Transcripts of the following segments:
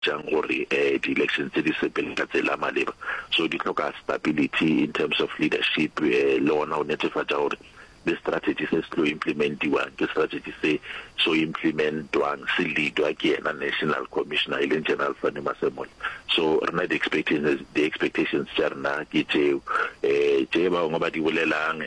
Jang gore di-elections tse di sepele ka tsela ya maleba. So di hloka stability in terms of leadership le gona go netefatša gore le strategy se se tlo implementiwang ke strategy se so implementwang se leadwa ke yena national commissioner e leng General Fannie Masemola. So rena di-expectations di-expectations tša rena ke tšeo. Tše ba bangwe ba di bolelang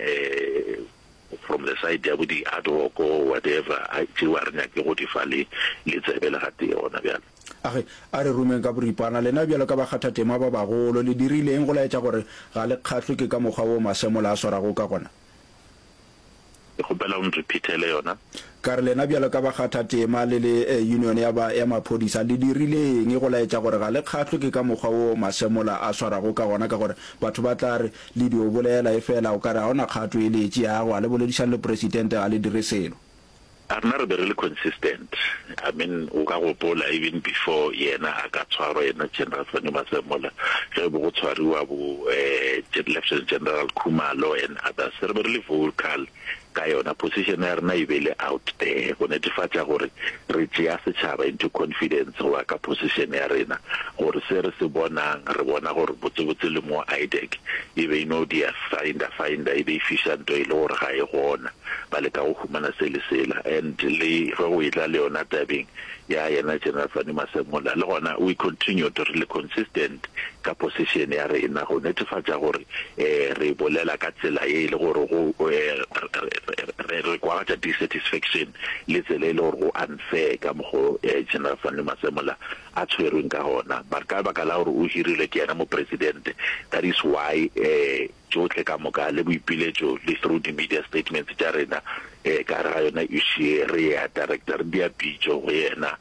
from the side ya bo di ad hoc or whatever, tšeo ga re nyake go di fa le le tsebe le gatee gona bjale. A re, A re rumeng ka boripana, lena bjalo ka bakgathatema ba bagolo, le dirile eng go laetša gore ga le kgahlwe ke ka mokgwa wo Masemola a swarago ka gona? Ke kgopela o nrepeatele yona. Ka re, lena bjalo ka bakgathatema le le union ya ba ya maphodisa, le dirile eng go laetša gore ga le kgahlwe ke ka mokgwa wo Masemola a swarago ka gona? Ka gore batho ba tla re, le dio bolela, efela o ka re ga go na kgato e le e tšeago, ga le boledišane le Presidente, ga le dire selo. A rena re be re le consistent, I mean o ka gopola even before yena a ka tshwarwa yena General Fannie Masemola ge be go tshwariwa bo Lieutenant General Khumalo and others re be re le vocal ka yona position ya rena e be le out there go netefatša gore re tšea setšhaba into confidence goba ka position ya rena gore se re se bonang re bona gore botsebotse le mo IDAC e be e no dia finder finder e be e fiša nto e le gore ga e gona. ba leka go humana se le sela and le ge go etla le yona tabeng ya yena General Fannie Masemola le gona we continued re le consistent ka position ya rena go netefatša gore re bolela ka tsela ye e le gore go re kwagatša dissatisfaction le tsela e le gore go unfair ka mokgo General Fannie Masemola a tshwerweng ka gona but ka baka la gore o hirilwe ke yena mopresidente that is why Tšohle ka moka le boipiletšo le through di media statements tša rena ka gare ga yona issue ye re ya director re dia pitšo go yena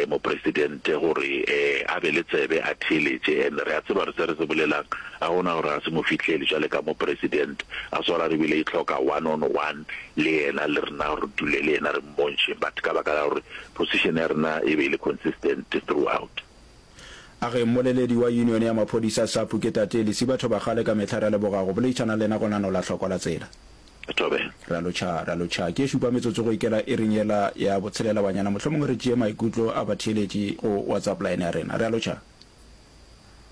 mopresidente gore a be le tsebe a theeletše and re a tseba gore se re se bolelang ga gona gore ga se mo fihlele jwale ka mopresident a swara re bile e hloka one on one le yena le rena re dule le yena re mmontšhe but ka baka la gore position ya rena e be e le consistent throughout. A re, Mmoleledi wa Yunione ya Maphodisa, SAPU, ke Tate Lesiba Thobakgale, ka mehla re a leboga go boleišana le lena go lenaneo la Hlokwa la Tsela. Thobela. Re a lotšha, re a lotšha. Ke e šupa metsotso go ikela iring yela ya botshelela banyana. Mohlomongwe re tšee maikutlo a batheeletši go WhatsApp line ya rena. Re a lotšha.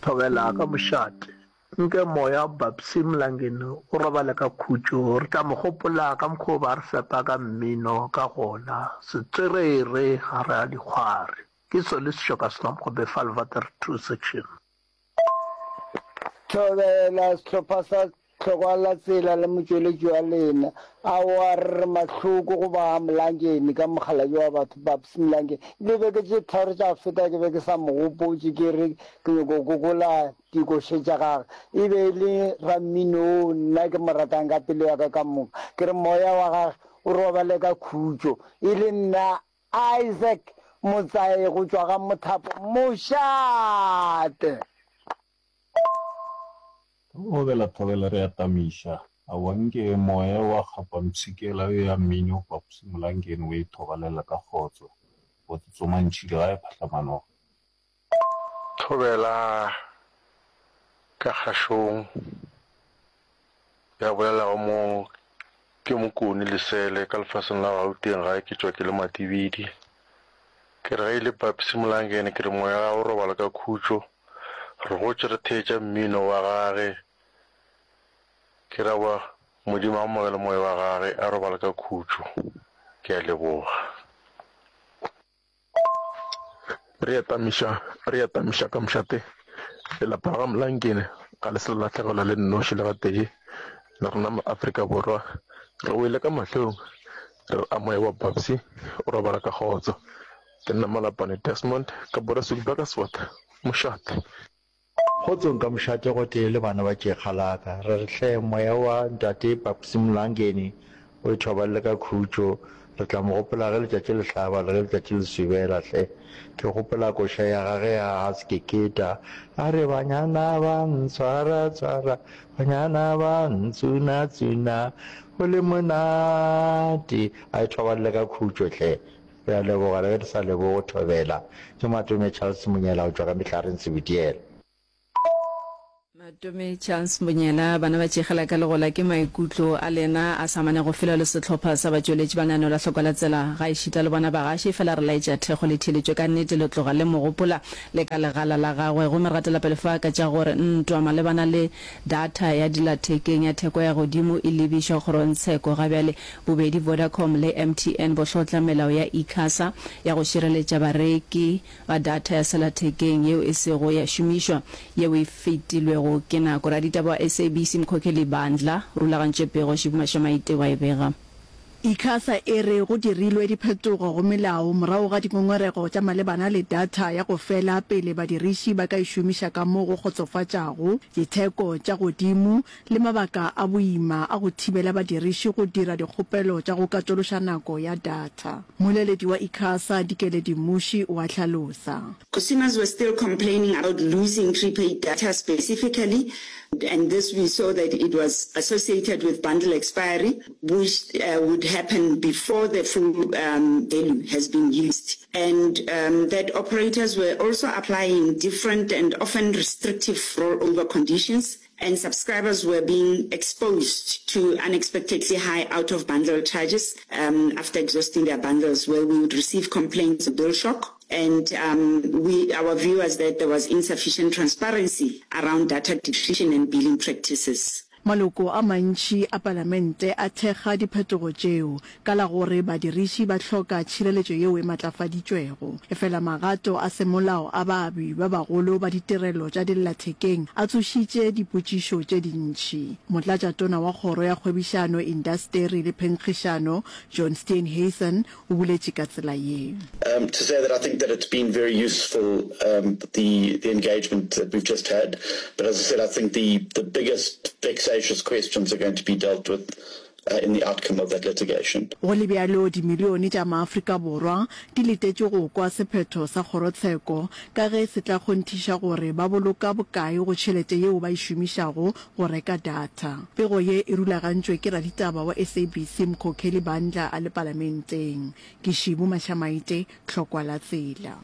Thobela ka mošate. Nke moya wa Babsy Mlangeni o robale ka khutšo. Re tla mo gopola ka mokgwa o ba re fepa ka mmino ka gona. Setswerere gare ga dikgwari. Ke sone sešoka sa Mokgobe Falvater 2 Section. Thobela, sehlopha sa Tlhokwa la Tsela le motšweletši wa lena. Aowa, re re mahloko go ba Mlangeni ka mokgalabje wa batho, Babs Mlangeni. Dibeke tše tharo tša go feta ke be ke sa mo gopotše ke re ke nyoko gogola dikoše tša gagwe. E be e le rammino wo nna ke mo ratang ka pelo ya ka ka moka. Ke re moya wa gagwe o robale ka khutšo. E le nna Isaac Motsae go tšwa ga Mothapo Mošate. Thobela thobela re a tamiša. Aowa nke moya wa kgapa mpshikela yo ya mmino Papsi Molangeni o e thobalela ka kgotso. Go tsotsoma ntšhile ga e phahlamanoga. Thobela ka kgašong ya bolelago mo ke Mokone Lesele ka lefaseng la Gauteng gae ke tšwa ke le Matibidi. Ke re ge e le Papsi Molangene ke re moya wa gagwe o robala ka khutšo. Re gotše re theetša mmino wa gage. Ke ra wa Modimo a amogele moya wa gage a robale ka khutšo. Ke a leboga. Re a tamiša, re a tamiša ka mošate. Lelapa la ga Mlankene ga le se la lahlegelwa le nnoši le gatee. Le rena ma Afrika Borwa re wele ka mahlong re re a moya wa Babsy o robala ka kgotso. Ke nna Malapane Desmond ka Boreswick Burgersfort, mošate. Kgotsong ka mošate gotee le bana ba tšekga la ka. Re re hle moya wa ntate Papsy Mlangeni o ithobalele ka khutšo. Re tla mo gopola ge letšatši le hlaba le ge letšatši le swibela hle. Ke gopola koša ya gage ya Haskeketa a re banyana ba ntshwara tshwara, banyana ba ntsuna tsuna, go le monate. A ithobalele ka khutšo hle. Re a leboga le ge re sa leboge Thobela. Ke Matome Charles Monyela go tšwa ka Mehlareng Sebitiela. Matome Chance Monyela, Bana ba tšegela ka legola ke maikutlo a lena a sa amanego felo le sehlopha sa batšweletši ba lenaneo la Hlokwa la Tsela, gaešita le bona bagaši, efela re laetša thekgo le theeletšo ka nnete le tloga le mo gopola le ka legala la gagwe. Gomme re gatela pele fa ka tša gore ntwa malebana le data ya dillathekeng ya theko ya godimo e lebišwa kgorongtsheko ga bjale. Bobedi Vodacom le MTN bo hlotla melao ya ICASA ya go šireletša bareki ba data ya sellathekeng yeo e sego ya šomišwa yeo e fetilwego ke nako. Raditaba wa SABC Mkhokheli Bandla o rulagantše pego, Shibu Mashamaite wa e bega. ICASA e re go dirilwe diphetogo go melao morago ga dingongorego tša malebana le data ya go fela pele badiriši ba ka e šomiša ka mo go kgotsofatšago, ditheko tša godimo le mabaka a boima a go thibela badiriši go dira dikgopelo tša go katološa nako ya data. Mmoleledi wa ICASA, Dikeledi Mmuši o a hlalosa. Consumers were still complaining about losing prepaid data specifically and this we saw that it was associated with bundle expiry which would happen before the full value has been used and that operators were also applying different and often restrictive rollover conditions and subscribers were being exposed to unexpectedly high out-of-bundle charges after exhausting their bundles where we would receive complaints of bill shock and we our view was that there was insufficient transparency around data depletion and billing practices. Maloko a mantši a Palamente a thekga diphetogo tšeo ka la gore badiriši ba hloka tšhireletšo yeo e matlafaditšwego. Efela magato a semolao a baabi ba bagolo ba ditirelo tša dillathekeng a tsošitše dipotšišo tše dintši. Motlatšatona wa Kgoro ya Kgwebišano, Indasteri le Phenkgišano, John Steenhuisen, o boletše ka tsela ye. To say that I think that it's been very useful the the engagement that we've just had, but as I said I think the the biggest vexatious questions are going to be dealt with in the outcome of that litigation. Go le bjalo, dimilione tša maAfrika Borwa di letetše go kwa sephetho sa kgorotsheko ka ge se tla kgonthiša gore ba boloka bokae go tšhelete yeo ba e šomišago go reka data. Pego ye e rulagantšwe ke raditaba wa SABC Mkhokheli Bandla a le Palamenteng. Ke Šibu Mashamaite, Tlhokwa la Tsela.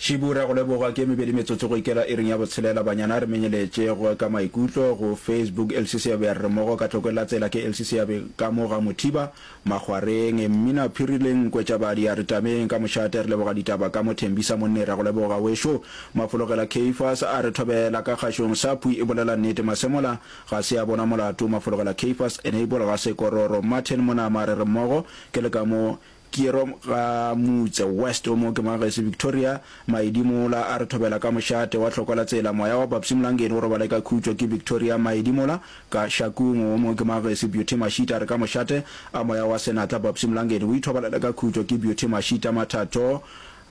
Šibu, Re a go leboga. Ke e mebedi metsotso go ikela iring ya botshelela. Banyana a re menyeletše go ka maikutlo go Facebook. Elsie Seabe a re re mmogo ka Tlokwe la Tsela. Ke Elsie Seabe ka mo ga Mothiba, Makgwareng. Mmina Phiri le Nkwe tša Badi a re tameng ka mošate. Re leboga ditaba ka mo Thembisa Monne. Re a go leboga wešo. Mafologela Caiphus a re thobela ka kgašong. Saphu e bolela nnete. Masemola ga se a bona molato. Mafologela Caiphus Enable ga se kororo. Martin Monama a re re mmogo. Ke le ka mo Kiero ga Mutse West o mo ke Magesi Victoria Maidimola a re thobela ka mošate wa hlokwa la tsela moya wa Babsy Mlangeni o robale ka khutšo ke Victoria Maidimola ka Shakung o mo ke Magesi Beauty Mashita a re ka mošate a moya wa senatla Babsy Mlangeni o ithobalele ka khutšo ke Beauty Mashita Mathato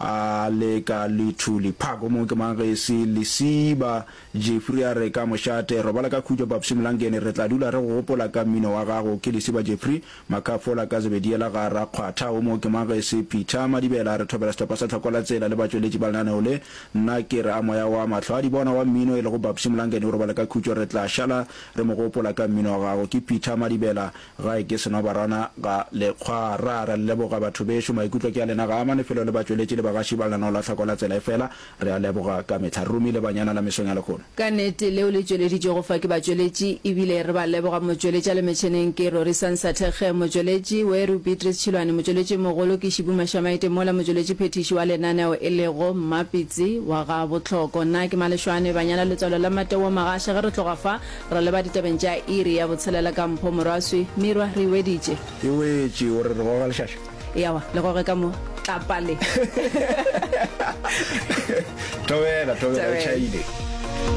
a le ka Lithuli Park o mo ke Magesi Lesiba Jeffrey a re ka mošate robala ka khutšo Babsy Mlangeni re tla dula re go gopola ka mmino wa gago ke Lesiba Jeffrey Makhafola ka Zebediela ga Rakgwatha o mo ke Magesi Peter Madibela a re thobela sehlopha sa Tlhoko la Tsela le batšweletši ba lenaneo le. Nna ke re a moya wa mahlo a di bona wa mmino e lego Babsy Mlangeni o robale ka khutšo re tla šala re mo gopola ka mmino wa gago. Ke Peter Madibela gae ke Senobarana ga Lekgwara. Re a le leboga batho bešo maikutlo ke a lena ga a amane felo le batšweletši le bagaši ba lenaneo la Tlhoko la Tsela efela re a leboga ka mehla. Re romile banyana la mesong ya lehono. Ka nnete, leo le tšweleditšwego fa ke batšweletši, ebile re ba leboga. Motšweletši a le metšheneng ke Rorisang Sathekge, motšweletši, Weru Beatrice Tšhilwane, motšweletši mogolo ke Šibu Mashamaite mola motšweletši phethiši wa lenaneo e lego Mmapitsi wa ga Bohloko. Nna ke Maleshwane Banyana Letswalo la Mateo Magasha. Ge re tloga fa, re leba ditabeng tša iri ya botshelela ka Mpho Morwaswi. Mirwa, re e weditše. E wetše, o re re goga lešaša. Ewa, le goge ka mo tlapa le. Thobela, thobela, o tšhaile.